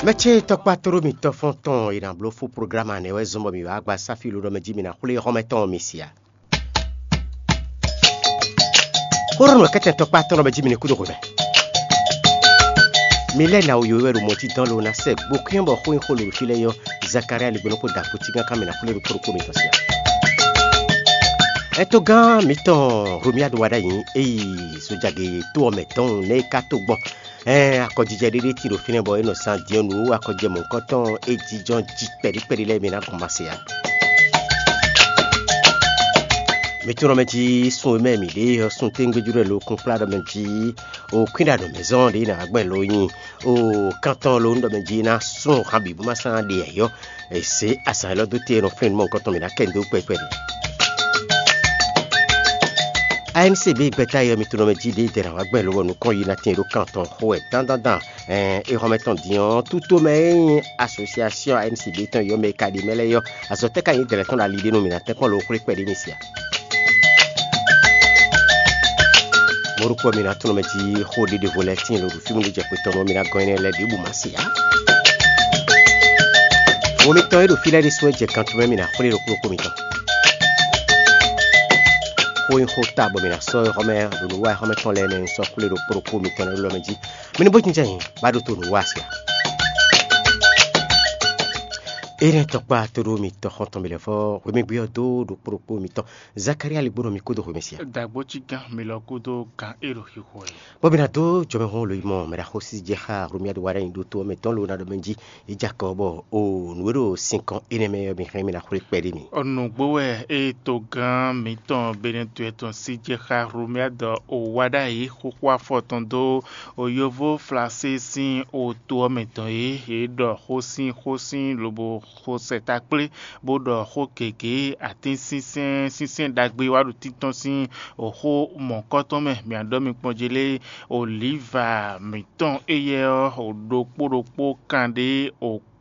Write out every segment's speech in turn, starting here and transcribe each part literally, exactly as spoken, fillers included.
Mɛ ce tɔkpá tlóló mitɔn fɔ́n tɔn e nǎ bló fó programu anɛ wɛ zɔ́n bɔ mǐ wá gba sáfí ló ɖɔ mɛ jí mi ná xwlé xɔ́mɛ tɔn mi sia. Xóɖó nɔ kɛ́tɛn tɔkpá tɔn ɖɔ mɛ jí mi ní kúdó hwemɛ. Mi lɛ́ ná wǔyó wɛ ɖo mɔtí dán ló ná sɛ gbokyɔ́n bɔ xó nyí xó lǒ fí lɛ́ɛ yɔ Zakaria ligbónɔ kpó dǎkpó cígán ká mi ná xwlé mi kpló kpó mitɔn sia. Ɛtogán mǐtɔn Romiadu wa ɖ'ayǐ é yi zojagě tó ɔ́ mɛ dɔn nɛ́ é ka tó gbɔn. Ɛɛ akɔjijɛ ɖé ɖé tin ɖo fínɛ́ bɔ é nɔ zán din ɔ́ nǔ akɔjijɛ mɔ̌hunkɔtɔn e jínjɔ́n jí kpɛɖíkpɛɖí lɛ́ɛ mɛ ná gbɔn masɛ ǎ. Mi tunɔ mɛ jí sun e mɛ mǐ ɖe ɔ́ sun téŋgbéjú ɖɔ lo kún kplá ɖɔ mɛ jí o kwín ɖo anɔ̌ mɛ zɔn ɖě ná gbɛn lo nyi o kántɔn lo ɖɔ mɛ jí ná sun han bǐ bó má sán ɖe ayɔ. È zě azǎn élɔ́ dó te e nɔ flɛ́n nú mɔ̌hunkɔtɔn mǐ ná kɛ nǔ dó kpɛkpɛ ɖe. A N C B gbɛ́ta e ɔ́ mi tunɔ mɛ jí ɖědɛɛ ná wá gbɛn lobɔ nukɔn yi ná tɛn ɖó kan tɔn xo wɛ dandandan. Ɛn é xɔmɛ tɔn din ɔ́, tutomɛ e nyí asosiasiɔn A N C B tɔn yɔ́ mɛ e ka ɖi mɛ lɛ́ɛ yɔ́, azɔ̌ tɛ́ ka nyí dɛ̌lɛ́ tɔn ɖo ali ɖé nú mǐ ná tɛ́nkpɔ́n lo xwlé kpɛɖé mi sia. Mɔ̌ ɖokpó ɔ́, mi ná tunɔ mɛ jí xó ɖé ɖěvo lɛ́ɛ tíin lo ɖo fí mú ɖó jɛ xwe tɔn nú ɔ́, mi ná gɔ́n énɛ́ lɛ́ɛ ɖěbǔ má se ǎ. Wo mitɔn e ɖo fí lɛ́ɛ ɖésú wɛ jɛ kan tɔn mɛ mi ná xwlé ɖo kplɔ́kpó mitɔn. Xó nyí xó ta bɔ mi ná sɔ́ xɔmɛ ɖo nǔ wa xɔmɛ tɔn lɛ́ɛ mɛ sɔ́ xwlé ɖo kplɔ́kpó mitɔn lɛ́ɛ lɔmɛ jí. Mi ní bó jínjɔ́n nyi bá ɖó to nǔ wa sia. Énɛ́ tɔkpá tó ɖó mitɔn xɔn tɔn mi lɛ́ fɔ hwemɛgbé ɔ́ dó ɖo kplɔ́kpó mitɔn. Zakaria ligbónɔ mi kó dó hwemɛ sia. Dǎgbó cí gán mi lɔ kúdó gán é ɖo xixo ɛ. Bɔ mi ná dó jɔmɛhún lo yi mɔ mɛ ɖaxó sí jɛ xá Romiadu wa ɖ'ayǐ ɖó tó ɔ́ mɛ tɔn lo ná ɖɔ mɛ jí. Yi jɛ akɔ bɔ o nǔ e ɖo sinkɔn énɛ́ mɛ ɔ́ mi hɛn mi ná xwlé kpɛɖé mi. Nǔgbó wɛ é togán mǐtɔn Benɛtuwɛ tɔn sí jɛ xá Romiadu o wa ɖ'ayǐ xóxó afɔ tɔn dó o yovó Flasé sín o to ɔ́ mɛ tɔn é. Yě ɖɔ xó sín xó sín lobo xo sɛta kplé bó ɖɔ xó gěgé atínsínsɛ́n sínsɛ́n ɖagbe wá ɖo títɔ́n sín xó mɔ̌kɔ́tɔn mɛ. Mǐ ɖɔ mi kpɔ́n jí lé, olǐva mǐtɔn éyɛ́ ɔ́ ɖokpó ɖokpó kan ɖé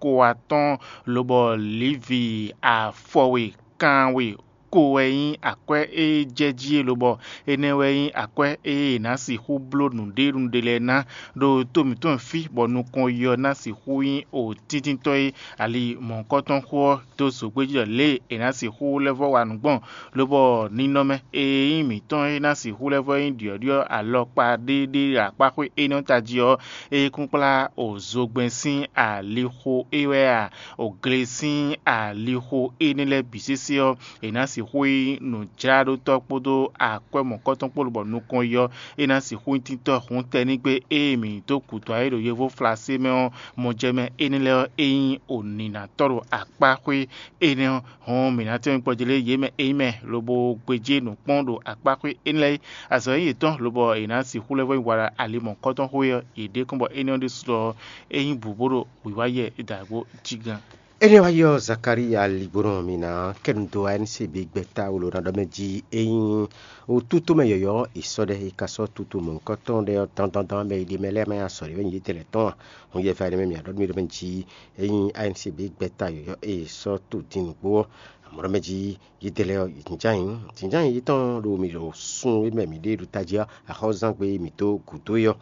ko atɔ́ɔ́n, lobɔ Livi afɔwe kanwe ko wɛ nyí akwɛ́ e jɛ jí é, lobɔ énɛ́ wɛ nyí akwɛ́ e è nǎ sixú bló nǔɖénúɖé lɛ́ɛ ná ɖo to mǐtɔn fí, bɔ nukɔn yi ɔ́ ná sixú nyí o tíntítɔ́ e ali mɔ̌hunkɔtɔn xó ɔ́ dó zogbéjí ɖɔ lě e è nǎ sixú lɛ́ vɔ́ wa nǔ gbɔn, lobɔ ninɔmɛ e nyí mǐtɔn e ná sixú lɛ́ vɔ́ nyí ɖyɔ̌ɖyɔ́ alɔkpa ɖé ɖé ɖo akpáxwé énɛ́ ɔ́ tají ɔ́, é kún kplá o zogbɛ́n sín alixo é wɛ a, o gle sín alixo énɛ́ lɛ́ɛ bǐ sésé ɔ́, è nǎ sixú nyí nǔjláɖótɔ́ kpódó akwɛ́ mɔ̌kɔ́tɔn kpó lobɔ nukɔn yi ɔ́, é ná sixú nyí títɔ́ hǔntɛnígbé e mǐ dó gǔdo ayé ɖo yovó Flasé mɛ ɔ́, mɔjɛmɛ énɛ́ lɛ́ɛ ɔ́, é nyí onǐnatɔ́ ɖo akpáxwé énɛ́ ɔ́, hɔn mǐ ná tɛ́nmɛ kpɔ́ jí lé yě mɛ é nyí mɛ lobo gbéjé nǔ kpɔ́n ɖo akpáxwé énɛ́ lɛ́ɛ é. Azɔ̌ nyí yětɔn lobɔ è nǎ sixú lɛ́ vɔ́ nyi wa ɖo ali mɔ̌kɔ́tɔn xwé ɔ́, yě ɖe kɔn bɔ énɛ́ ɔ́ ɖésú ɔ́, é nyí bǔ bó ɖo wǐwá yɛ dǎgbó jí gán. Énɛ́ wá yi ɔ́, Zakalía ligbónɔ mi ná kɛ nu dó A N C B gbɛ́ta wlo ná ɖɔ mɛ jí é nyí wútútú mɛ yɔ̌yɔ́ è sɔ́ ɖɛ è ka sɔ́ tutu mɔ̌hunkɔtɔn ɖɛ ɔ́ dandandan mɛ e ɖe mɛ lɛ́ɛ mɛ azɔ̌ ɖé wɛ nyí yětɛn lɛ́ɛ tɔn a? Hɔn yɛ va ɖé mɛ mǐ ɖɔ mì ɖɔ mɛ jí é nyí A N C B gbɛ́ta yɔ̌yɔ́ e è sɔ́ to din nǔgbó ɔ́, amɔ̌ ɖɔ mɛ jí yětɛn lɛ́ɛ ɔ́, jǐnján nyí jǐnján nyí yětɔn ɖo mǐ ɖo sun e mɛ mǐ ɖe ɖo tají ɔ́, axɔ́zángbé e mǐ dó gǔdo é ɔ́,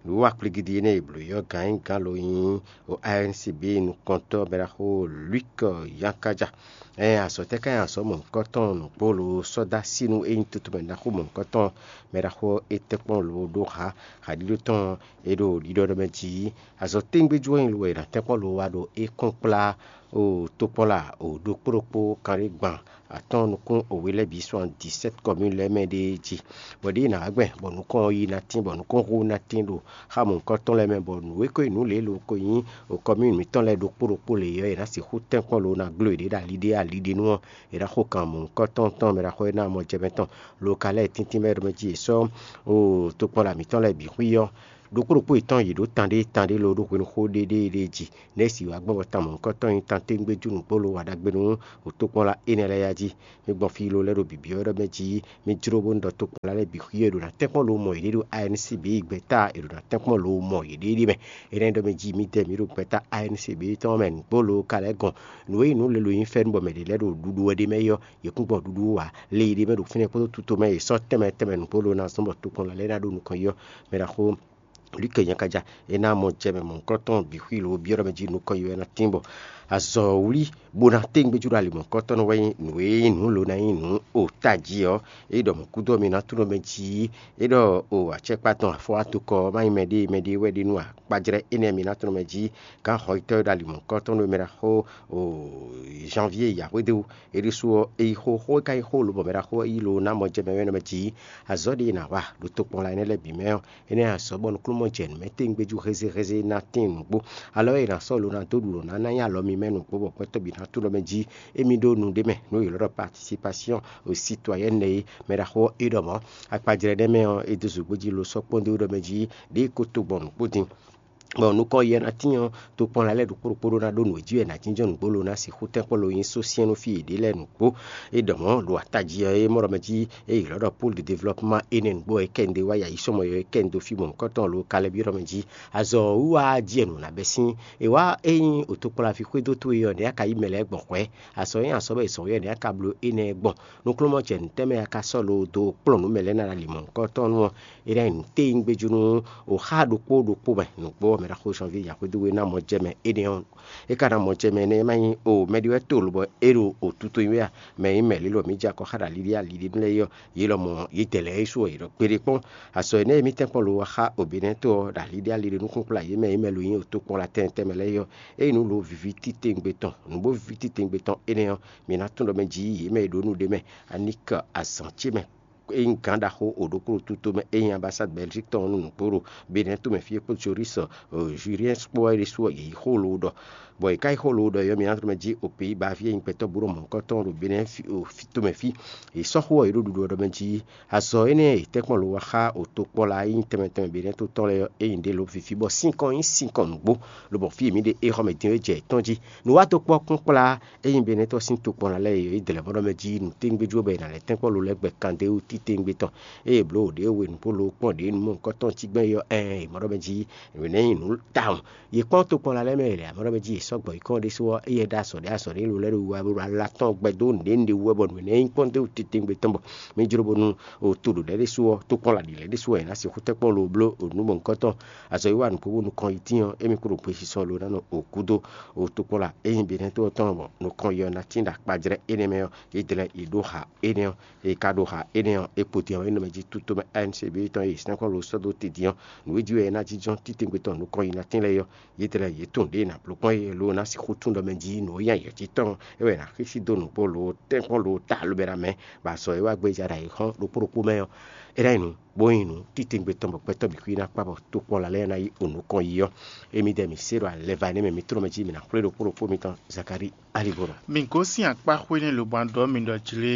ɖo akpligidi énɛ́ e blǒ é ɔ́ gǎn nyí gǎn lo nyí o A N C B nukɔntɔ́ mɛɖaxó Luc Yankaja. Ɛn azɔ̌ tɛ́ ká nyí azɔ̌ mɔ̌hunkɔtɔn nǔgbó lo sɔ́ dó así nú é nyí toto mɛ ɖaxó mɔ̌hunkɔtɔn mɛɖaxó é tɛ́nkpɔ́n lo ɖó ha haɖíɖó tɔn é ɖo ɖiɖɔ ɖɔ mɛ jí azɔ̌ téŋgbéjú wɛ nyí lo wɛ è nǎ tɛ́nkpɔ́n lo wá ɖo é kɔn kplá o tokpɔ́n la o ɖokpó ɖokpó kanɖé gban atɔ́ɔ́n nukún o we lɛ́ɛ bǐ soixante-dix-sept commune lɛ́ɛ mɛ ɖée jí. Bɔ ɖěe nǎ wá gbɛn bɔ nukɔn ɔ́ yi ná tín bɔ nukɔn xó ná tín ɖo xá mɔ̌hunkɔtɔn lɛ́ɛ mɛ bɔ nǔ e ko nyí nǔ lě lo ko nyí o commune mǐtɔn lɛ́ɛ ɖokpó ɖokpó lě ɔ́, è nǎ sixú tɛ́nkpɔ́n lo ná gló yěɖée ɖo ali ɖé ali ɖé nu ɔ́, è nǎ xo kan mɔ̌hunkɔtɔn tɔn mɛ ɖaxó e ná mɔ jɛ mɛ tɔn lo ka lɛ́ɛ tíntín mɛ ɖo mɛ jí è sɔ́ o tokpɔnla mǐtɔn lɛ́ɛ bǐ xwí ɔ́. Ɖokpó ɖokpó yětɔn yě ɖó tán ɖé tán ɖé lo ɖó hwenu xó ɖéɖéeɖée jí. Nɛ̌ si wǎ gbɔn bɔ tan mɔ̌hunkɔtɔn nyí tan téŋgbéjú nǔgbó lo wa ɖagbe nú o tokpɔnla énɛ́ lɛ́ɛ yá jí? Mi gbɔn fí lo lɛ́ɛ ɖo bǐbí ɔ́ ɖɔ mɛ jí mi jló bónú ɖɔ tokpɔnla lɛ́ɛ bǐ xwí e ɖo ná tɛ́nkpɔ́n lo mɔ yěɖée ɖo A N C B gbɛ́ta è ɖo ná tɛ́nkpɔ́n lo mɔ yěɖée ɖé mɛ. Énɛ́ ɖɔ mɛ jí midɛɛ mǐ ɖo gbɛ́ta A N C B tɔn mɛ nǔgbó lo ka lɛ́ gɔn. Nǔ e nyí nǔ lělo nyí fɛ́nú bɔ mɛ ɖě lɛ́ɛ ɖo ɖuɖu wɛ ɖ'é mɛ é ɔ́, yě kún gbɔ ɖuɖu wú ǎ. Le e ɖ'é mɛ ɖo fínɛ́ kpódó tuto mɛ e è sɔ́ tɛnmɛ tɛnmɛ nǔgbó lo ná zɔ́n bɔ tokpɔnla lɛ́ɛ ná ɖó nukɔn yi ɔ́, mɛ ɖaxó Lukɛ nyakaja é ná mɔ jɛ mɛ mɔ̌hunkɔtɔn bǐ xwí lǒ byɔ́ ɖɔ mɛ jí nukɔn yi wɛ ná tín bɔ azɔ̌wlí bó ná téngbéjú ɖo ali mɔ̌hunkɔtɔn nɔ wɛ nyí nǔ e nyí nǔ ló ná nyí nǔ o tají ɔ́, é ɖɔ mɔ̌ gúdo ɔ́ mi ná tunɔ mɛ jí é ɖɔ o acɛkpa tɔn afɔwátokɔ ɔ́ má nyí mɛɖée mɛɖée wɛ ɖe nú akpajlɛ́ énɛ́ mi ná tunɔ mɛ jí gǎn xɔyítɔ́ e ɖo ali mɔ̌hunkɔtɔn nú mɛ ɖaxó o janvier yǎhwédó é ɖésú ɔ́ é yi xó xó é ka nyí xó lobɔ mɛ ɖaxó ɔ́ yi lo ná mɔ jɛ mɛ wɛ nɔ mɛ jí azɔ̌ ɖé e nǎ wa ɖo tokpɔnla énɛ́ lɛ́ɛ bǐ mɛ ɔ́, énɛ́ azɔ̌ bɔ nukúnnú jɛ nǔ mɛ tɛ́ngbéjú hézéhézé ná tín nǔgbó. Alɔ e è nǎ sɔ́ lo ná dó ɖu lǒ ná ná nyí alɔ mi mɛ nǔgbó bɔ gbɛtɔ́ bǐ ná tunɔ mɛ jí émí ɖó nu ɖé mɛ nú yě lɔ́ ɖɔ participation aux citoyennes é mɛ ɖaxó ɔ́ é ɖɔ mɔ̌. Akpajlɛ́ nɛ́ mɛ ɔ́, é dó zǒgbó jí lo sɔ́ kpɔ́n dó ɖɔ mɛ jí ɖěe ko tɔgbɔn nǔgbó din. Bɔ nukɔn yi ɔ́ ná tín ɔ́, tokpɔnla lɛ́ɛ ɖokpó ɖokpó ɖó ná ɖó nǔ e jí wɛ è nǎ jínjɔ́n nǔgbó lo ná sixú tɛ́nkpɔ́n lo nyí só syɛ́n nú fí yěɖée lɛ́ɛ nǔgbó. É ɖɔ mɔ̌ ɖo atají ɔ́ é mɔ ɖɔ mɛ jí é ylɔ́ ɖɔ Pôlu de devlɔpman énɛ́ nǔgbó ɔ́ é kɛ un ɖe wá yi ayǐsɔmɔ ɔ́ é kɛ un dó fí mɔ̌hunkɔtɔn lo ka lɛ́ byɔ́ ɖɔ mɛ jí azɔ̌ ɔ́ wíwá jí wɛ nǔ ná bɛ́ sín. È wá ényí o tokpɔnlaví xwedó towe ɔ́ nɛ̌ a ka yí mɛ lɛ́ɛ gbɔn hwɛ̌? Azɔ̌ nyí azɔ̌ bɔ è zɔ̌n wɛ nɛ̌ a ka bló énɛ́ gbɔn? Nukúnnú jɛ nǔ tɛ́ mɛ a ka sɔ́ lo dó kplɔ́n nǔ mɛ lɛ́ɛ ná ɖo ali mɔ̌hunkɔtɔn nú ɔ́, é ná nyí nǔ téwúngbéjúnú o xá ɖokpó ɖokpó mɛ nǔgbó ɔ́ mɛ ɖaxó Janvier yǎhwedó e ná mɔ jɛ mɛ énɛ́ ɔ́. É ka ná mɔ jɛ mɛ énɛ́ ma nyí o mɛ ɖé wɛ to lobɔ é ɖo o tuto nyi wɛ a? Mɛ e nyí mɛ lě lɔ mǐ jɛ akɔ xá ɖo aliɖí aliɖínú lɛ́ɛ yi ɔ́, yě lɔmɔ̌ yě dɛ lɛ́ɛ é su ɔ yě ɖɔ kpéɖé kpɔ́n. Azɔ̌ énɛ́ e mì tɛ́nkpɔ́n lo wá xá oběnɛ́tɔ́ ɔ́ ɖo aliɖí aliɖínú kplá yě mɛ e nyí mɛ lo nyí o tokpɔnla tɛntɛn mɛ lɛ́ɛ yi ɔ́, ényí nǔ lo viví titewungbe tɔn nǔ bó viví titewungbe tɔn énɛ́ ɔ́, mǐ ná tunwun ɖɔ mɛ jí yě mɛ e ɖǒ nǔ ɖé mɛ aníkɛ azǎn ce mɛ é nyí gǎn ɖaxó o ɖokpó ɖo tuto mɛ é nyí ambasád Bɛlzík tɔn ɔ́ nú nǔgbó ɖo Benɛ́ tomɛ fí é kpó Joris Juliɛ́n kpó wɛ ɖésú ɔ́, yě yi xó loo ɖɔ. Bɔ yě ká yi xó loo ɖɔ é ɔ́, mi ná tlɔ́ mɛ jí o Peyíba fí e nyí gbɛtɔ́ bú ɖo mɔ̌hunkɔtɔn ɖo Benɛ́ tomɛ fí. Yě sɔ́ xó ɔ́, yě ɖo ɖuɖu ɔ́ ɖɔ mɛ jí azɔ̌ énɛ́ e yě tɛ́nkpɔ́n lo wá xá o tokpɔ́la e nyí tɛnmɛ tɛnmɛ Benɛ́ to tɔn lɛ́ɛ ɔ́, é nyí ɖě lobɔ fífí bɔ sínkɔn nyí sínkɔn nǔgbó, lobɔ fí e mǐ ɖe é xɔ mɛ din é jɛ yětɔn jí. Nǔwatokpɔ́kún kplá ényí Benɛ́tɔ́ sín tokpɔnla lɛ́ɛ e yě dlɛ̌ mɔ ɖɔ mɛ jí nǔtɛ́ngbéjú ɔ́ bɔ è nǎ lɛ́ tɛ́nkpɔ́n lo lɛ́ gbɛ kan dó wú titewungbe tɔn. Ée è blǒ ɖě we nǔ bó lo kpɔ́n ɖě nú mɔ̌hunkɔtɔn cí gbɛ́n é ɔ́, ɛɛn, è mɔ ɖɔ mɛ jí nǔ énɛ́ nyí nǔ tawun. Yě kpɔ́n tokpɔnla lɛ́ɛ mɛ e lɛ̌ amɔ ɖɔ mɛ jí yě sɔ́ gbɔ yi kɔn ɖésú ɔ́, éyɛ́ ɖó azɔ̌ ɖé azɔ̌ ɖé lo lɛ́ ɖo wú wɛ bó ɖo ala tɔn gbɛ dó nǔɖé nǔɖé wú wɛ bɔ nǔ énɛ́ nyí kpɔ́n dó titewungbe tɔn bɔ mǐ jló bónú o to ɖo lɛ̌ ɖésú ɔ́, tokpɔnla ɖě lɛ́ɛ ɖésú ɔ́, è nǎ sixú tɛ́nkpɔ́n lo bló o nǔ mɔ̌hunkɔtɔn. Azɔ̌wiwa nǔgbó bó nukɔn yi tín ɔ́, émí kpo ɖo gbesisɔ lo ná nɔ o gúdo o tokpɔnla e nyí Benɛ́to ɔ́ tɔn lɔmɔ̌ nukɔn yi ɔ́ ná tín ɖo akpajlɛ́ énɛ́ mɛ ɔ́, yě dlɛ́ yě ɖó ha énɛ́ ɔ́. È ka ɖo ha énɛ́ ɔ́, è kpo din ɔ́, é nɔ mɛ jí tútomɛ A N C B tɔn e sɛ́nkplɔ́n lo sɔ́ dó te din ɔ́, nǔ e jí wɛ é ná jínjɔ́n titewungbe tɔn nukɔn yi ná tín lɛ́ɛ é ɔ́, yě dlɛ́ yě tunwun ɖěe è nǎ bló kpɔ́n é, lo ná sixú tunwun ɖɔ mɛ jí nǔ e nyí ayǐ ɔ́ jí tɔn é wɛ è nǎ xísí dó nǔgbó lo tɛ́nkpɔ́n lo ta alobɛ́ ná mɛ, bɔ azɔ̌ e wá gbéjá ɖo ayǐ xɔ́n ɖokpó ɖokpó mɛ ɔ́, é ná nyí nǔ bó nyí nǔ titewungbe tɔn bɔ gbɛtɔ́ bǐ xwí ná kpá bɔ tokpɔnla lɛ́ɛ ná yi o nukɔn yi ɔ́. Émí dɛ mǐ se ɖo alɛva énɛ́ mɛ mǐ tlɔ́n mɛ jí mǐ ná xwlé ɖokpó ɖokpó mitɔn Zakalíi Alíbolo. Mi gosín akpá xwé nɛ́ lobo ná ɖɔ mi ɖɔ jlé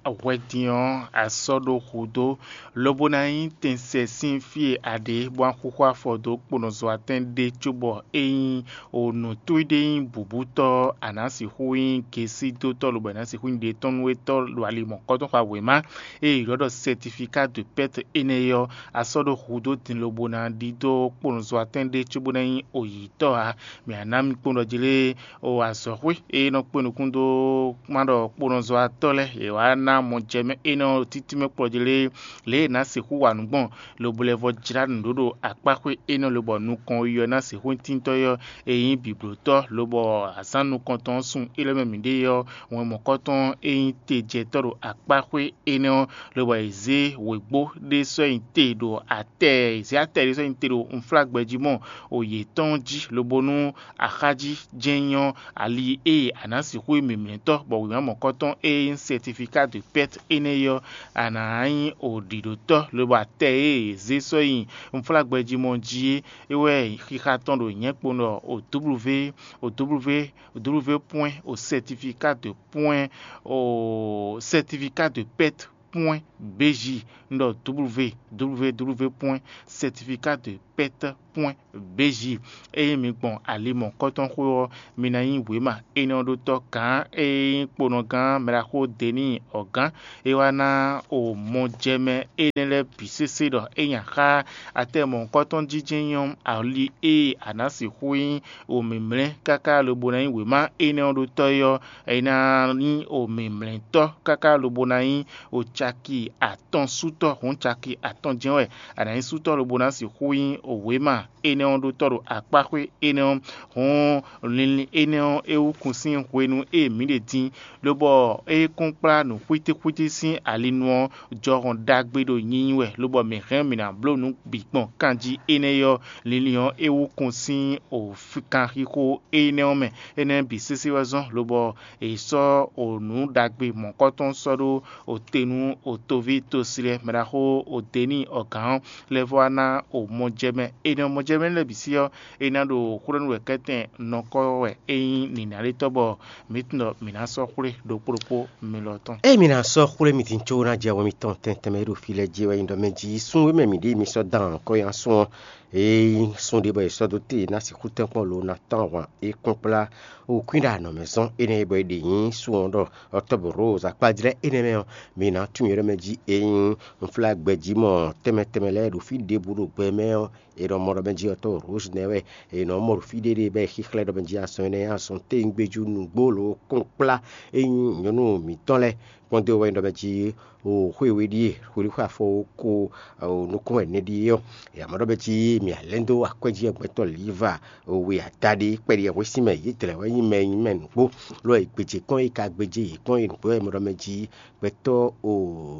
hwɛ din ɔ́, a sɔ́ ɖó hudó, lobo ná nyí tɛnsɛ sín fí e a ɖe bó ná xúxú afɔ dó kponɔzɔ́watɛn ɖé cóbɔ é nyí o nǔtúí ɖé nyí bǔbútɔ́ ɔ́, a nǎ sixú nyí gesídótɔ́ lobo a nǎ sixú nyí ɖětɔ́núwétɔ́ ɖo ali mɔ̌kɔ́tɔn xwá wěma e è ylɔ́ ɖɔ sɛtifika de pɛ́t énɛ́ é ɔ́, a sɔ́ ɖó hudó din lobo ná ɖidó kponɔzɔ́watɛn ɖé cóbó ná nyí oyǐtɔ́ ǎ. Mǐ ná ná mi kpɔ́n ɖɔ jlé o azɔ̌xwé e nɔ kpé nukún dó má ɖɔ kponɔzɔ́watɔ́ lɛ́ɛ yě wá ná mɔ jɛ mɛ énɛ́ ɔ́ títí mɛ kplɔ́ jlé lě e è nǎ sixú wa nǔ gbɔn lobo lɛ́ vɔ jlá nǔɖuɖu akpáxwé énɛ́ lobɔ nukɔn yi ɔ́ ná sixú nyí tíntɔ́ é ɔ́, e nyí bǐblótɔ́ lobɔ azǎn nukɔntɔn ɔ́ sun é lɛ́ mɛ mǐ ɖe ɔ́, wɛn mɔ̌kɔ́tɔn e nyí tejɛtɔ́ ɖo akpáxwé énɛ́ ɔ́, lobɔ è zě wěgbó ɖé sɔ́ nyi te ɖo atɛ, è zě atɛ ɖé sɔ́ nyi te ɖo unflágbɛjí mɔ o yětɔn jí, lobo nú axájí jɛ́n nyɔ́ ali e a nǎ sixú nyí mǐmlɛ́tɔ́, bɔ wěma mɔ̌kɔ́tɔn e nyí sɛtifika de pɛ́t énɛ́ é ɔ́, a nǎ nyí o ɖǐɖótɔ́, lobo atɛ e è zě sɔ́ nyi unflágbɛjí mɔ jí é, é wɛ xixa tɔn ɖo nyɛ̌ kpo ɖɔ o W, o W, o W pwɛ́n o sɛtifika de pwɛ́n o sɛtifika de pɛ́t pwɛ́n B J, un ɖɔ W W W pwɛ́n sɛtifika de pɛ́t pwɛ́n Bézi. Ényí mi gbɔn ali mɔ̌kɔ́tɔn xwé ɔ́, mi ná nyí wěma énɛ́ ɔ́ ɖó tɔ́ gǎn e nyí kponɔgán mɛɖaxó Deni ɔ̌gán. É wá ná o mɔjɛmɛ énɛ́ lɛ́ɛ bǐ sésé ɖɔ é nya xá atɛ mɔ̌kɔ́tɔn jínjɛ́n nyɔ́ ali e a nǎ sixú nyí o mǐmlɛ́ káká lobo ná nyí wěma énɛ́ ɔ́ ɖó tɔ́ é ɔ́, é ná nyí o mǐmlɛ́tɔ́ káká lobo ná nyí o caki atɔn sútɔ́ hǔn caki atɔn jɛ́n wɛ a nǎ nyí sútɔ́ lobo ná sixú nyí o wěma énɛ́ ɔ́ ɖó tɔ́ ɖo akpáxwé énɛ́ ɔ́. Hǔn linlin énɛ́ ɔ́ é wú kun sín hwenu e mǐ ɖe din, lobɔ é kún kplá nǔ xwítíxwítí sín alinu ɔ́ jɔhɔn ɖagbe ɖo nyinyi wɛ, lobɔ mǐ hɛn mǐ ná bló nǔ bǐ gbɔn kanjí énɛ́ ɔ́. Linlin ɔ́ é wú kun sín o kanxixo énɛ́ ɔ́ mɛ. Énɛ́ bǐ sésé wɛ zɔ́n, lobɔ è sɔ́ o nǔ ɖagbe mɔ̌kɔtɔn sɔ́ ɖó o te nú o toví tosilɛ mɛɖaxó o Deni ɔ̌gán ɔ́ lɛ́ vɔ wá ná o mɔjɛmɛ. Énɛ́ mɔjɛmɛ lɛ́ɛ bǐ sí ɔ́, é ná ɖo xwlɛ́nú wɛ kɛ́tɛn nɔkɔ́ wɛ é nyí nǐnálétɔ́ bɔ mǐ tunwun ɖɔ mǐ ná sɔ́ xwlé ɖokpó ɖokpó mi lɔ tɔn. Ée mi ná sɔ́ xwlé mi din có ná jɛ wɛ mitɔn tɛntɛn mɛ e ɖo fí lɛ́ɛ jí wɛ nyí ɖɔ mɛ jí sun e mɛ mǐ ɖe mi sɔ́ dán kɔ́ nyi asún ɔ́, ée sun ɖé bɔ è sɔ́ dó te ná sixú tɛ́nkpɔ́n lo ná tán ahwan é kpɔ́n kplá o kwín ɖo anɔ̌ mɛ zɔ́n énɛ́ e bɔ è ɖe nyí sun ɔ́ ɖɔ ɔtɔ́bǔ Rose akpájlɛ́ énɛ́ mɛ ɔ́, mi ná tunwun yě ɖɔ mɛ jí ényí unflágbɛjí mɔ tɛnmɛ tɛnmɛ lɛ́ɛ ɖo fí ɖěbǔ ɖo gbɛ mɛ ɔ́, è nɔ mɔ ɖɔ mɛ jí ɔtɔ́ Rose nɛ́ wɛ è nɔ mɔ ɖo fí ɖéɖé bɔ é xíxlɛ́ ɖɔ mɛ jí azɔn énɛ́ azɔn téwúngbéjú nǔgbó lǒ kpɔ́n kplá é nyí nyɔ̌nu mǐtɔn lɛ́ɛ kpɔ́n dó wɛ nyí ɖɔ mɛ jí o xwé we ɖíe hwelíxwe afɔ ko o nukún wɛ nɛɖíe ɔ́, è mɔ ɖɔ mɛ jí mǐ alɛ́ dó akwɛ́ jí gbɛtɔ́ Liva we adaɖé kpɛɖi hwesínmɛ yě dlɛ̌ wɛ nyí mɛ nyí mɛ nǔgbó, lɔ e gbějé kpɔ́n e ka gbéjé yě kpɔ́n e nǔgbó wɛ mɔ ɖɔ mɛ jí gbɛtɔ́ o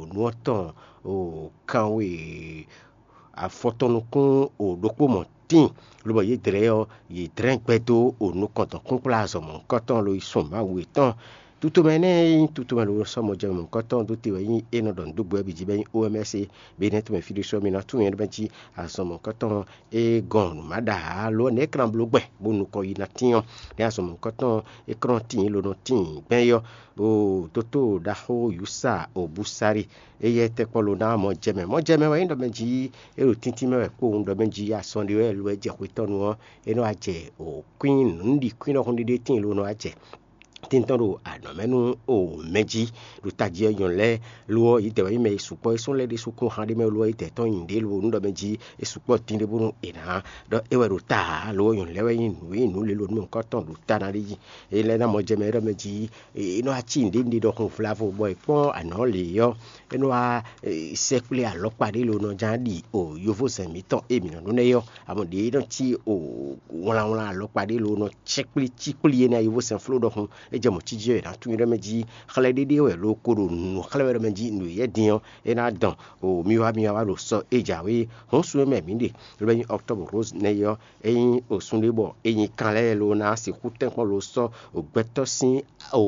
nǔ ɔ́ tɔn o kanwe afɔtɔn nukún o ɖokpó mɔ tíin, lobɔ yě dlɛ̌ ɔ́, yě dlɛ́n gbɛ dó o nukɔn tɔn kúnkplá azɔ̌ mɔ̌hunkɔtɔn lo yi sun Mawu yětɔn. Tutomɛ énɛ́ e nyí tutomɛ lo sɔ́ mɔjɛmɛ mɔ̌hunkɔtɔn dó te wɛ nyí é nɔ ɖɔ nǔ dó gbɛ ɔ́ bǐ jí bɔ é nyí O M S é, bɔ é nɛ́ tɔn mɛ fí ɖésú ɔ́, mi ná tunwun nyɛ ɖɔ mɛ jí azɔn mɔ̌hunkɔtɔn e gɔn nǔ má ɖa ǎ lo ɔ́, nɛ̌ é klán bló gbɛ bó nukɔn yi ná tín ɔ́, nɛ̌ azɔn mɔ̌hunkɔtɔn é klɔ́n tíin lo nɔ tíin gbɛn é ɔ́, o dótó ɖaxó Yusa Obusari, éyɛ́ tɛ́ kpɔ́ lo ná mɔjɛmɛ. Mɔjɛmɛ wɛ nyí ɖɔ mɛ jí é ɖo tíntín mɛ wɛ kpowun ɖɔ mɛ jí azɔn ɖé wɛ lo wɛ jɛ xwetɔ́nu ɔ́, é nɔ wá jɛ o kwín nǔɖikwín ɖɔhun ɖé tíin lo nɔ wá jɛ tíntɔn ɖo anɔ̌ mɛ nú o mɛ jí ɖo tají ɔ́ nyɔ̌nu lɛ́ɛ. Lo ɔ́, yě dɛ wɛ nyí mɛ e sukpɔ́ é sɔ́ lɛ́ ɖésú kún han ɖé mɛ lo ɔ́, yě dɛ tɔn nyi ɖě lo nú ɖɔ mɛ jí é sukpɔ́ dín ɖé bónú è nǎ ɖɔ é wɛ ɖo ta ǎ. Lo ɔ́, nyɔ̌nu lɛ́ɛ wɛ nyí nǔ e nyí nǔ lě lo nú mɔ̌hunkɔtɔn ɖo ta ná ɖé jí. É lɛ́ ná mɔ jɛ mɛ é ɖɔ mɛ jí é nɔ wá cí nǔɖé nǔɖé ɖɔhun vlavo bɔ è kpɔ́n anɔ̌ lě ɔ́, é nɔ wá sɛkplé alɔkpa ɖé lo nɔ ján ɖi o yovózɛn mǐtɔn e mǐ nɔ ɖó nɛ́ ɔ́, amɔ ɖě é nɔ cí o wlánwlán alɔkpa ɖé lo nɔ sɛkplé cikplí énɛ́ yovózɛn fló ɖɔhun. É jɛ mɔ̌ cí jí ɔ́, è nǎ tunwun ɖɔ mɛ jí xlɛ́ ɖéɖé wɛ lo ko ɖo nǔ xlɛ́ wɛ ɖɔ mɛ jí nǔ e yɛ din ɔ́, é ná dɔn o mi wá mi wá ɖo sɔ é jǎwe hɔn sun e mɛ mǐ ɖe, ló bɛ nyí Octobre Rose nɛ́ ɔ́, é nyí osun ɖé bɔ é nyí kan lɛ́ɛ lo ná sixú tɛ́nkpɔ́n lo sɔ́ gbɛtɔ́ sín o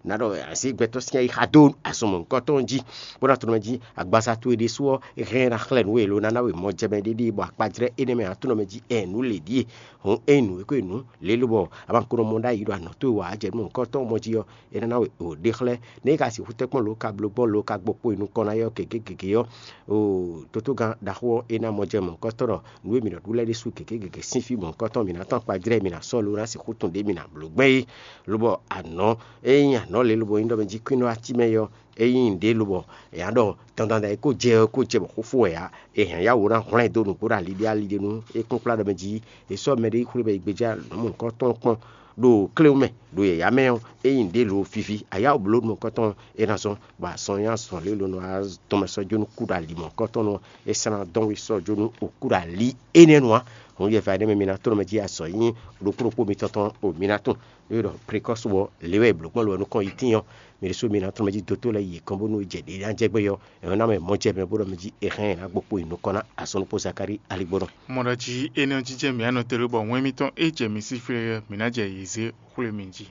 ná ɖɔ azǐ gbɛtɔ́ sín ayixa dó azɔn mɔ̌hunkɔtɔn jí, bó ná tunɔ mɛ jí agbaza towe ɖésú ɔ́, é hɛn ná xlɛ́ nǔ we lo ná ná we mɔjɛmɛ ɖéɖé bɔ akpajlɛ́ énɛ́ mɛ ǎ tunɔ mɛ jí ɛ nǔ lě ɖíe. Hǔn ényí nǔ e ko e nǔ lě lobɔ a ma ko nɔ mɔ ɖ'ayǐ ɖo anɔ̌ towe wa jɛ nú mɔ̌hunkɔtɔn mɔ jí ɔ́, é ná ná we o ɖe xlɛ́. Nɛ̌ é ka sixú tɛ́nkpɔ́n lo ka bló gbɔn lo ka gbɔ kpo yi nukɔn ná yɔ gěgé gěgé ɔ́, o tótógán ɖaxó ɔ́, é ná mɔ jɛ mɔ̌hunkɔtɔn ɖɔ nǔ e mǐ nɔ ɖu lɛ́ɛ ɖésú gěgé gěgé sín fí mɔ̌hunkɔtɔn mǐ ná tɔn akpajlɛ́ mǐ ná sɔ́ lo ná sixú tun ɖě mǐ ná bló gbɛn é. Lobɔ anɔ̌, ényí anɔ̌ lě lobɔ nyí ɖɔ mɛ jí kwín nɔ ací mɛ é ɔ́, ényí nǔɖé lobɔ è nǎ ɖɔ dandan e kó jɛ ɔ́ kó jɛ bɔ xó fó wɛ ǎ. È hɛn yá wǒ ná hwlɛ́n dó nǔgbó ɖo ali ɖé ali ɖé nú é kún kplá ɖɔ mɛ jí è sɔ́ mɛɖé yi xwlé bɔ è gbéjá nǔ mɔ̌hunkɔtɔn kpɔ́n ɖo kléwún mɛ ɖo yɛ̌yá mɛ ɔ́, ényí nǔɖé lo fifi ayá wǒ bló nukɔntɔn é ná zɔ́n, bɔ azɔn nyí azɔn lě lo nɔ wá dɔn mɛ sɔ́ jó nú kú ɖo ali mɔ̌hunkɔtɔn ɔ́, é sɛ́ ná dɔn wí sɔ́ jó nú kú ɖo ali énɛ́ nu ǎ. Hǔn yɛ va énɛ́ mɛ mi ná tlɔ́n mɛ jí azɔ̌ nyí ɖokpó ɖokpó mitɔn tɔn o mi ná tunwun. Ée ɖɔ Prekɔ́su ɔ́, lě wɛ è blǒ gbɔn lo ɔ́ nukɔn yi tíin ɔ́, mi ɖésú mi ná tlɔ́n mɛ jí dótó lɛ́ɛ yi kɔn bónú jɛ ɖě ná jɛ gbé ɔ́, è nɔ ná mɛ mɔjɛmɛ bó ɖɔ mɛ jí è hɛn ɛ ná gbo kpo yi nukɔn ná azɔn ɖokpó Zakalíi aligbɔnɔ. Mɔ ɖɔ jí énɛ́ ɔ́ jínjɛ́n mǐ anɔ tlóló bɔ wɛn mitɔn e jɛ mi sí flé ɔ́, mǐ ná jɛ yě zé xwlé mi jí.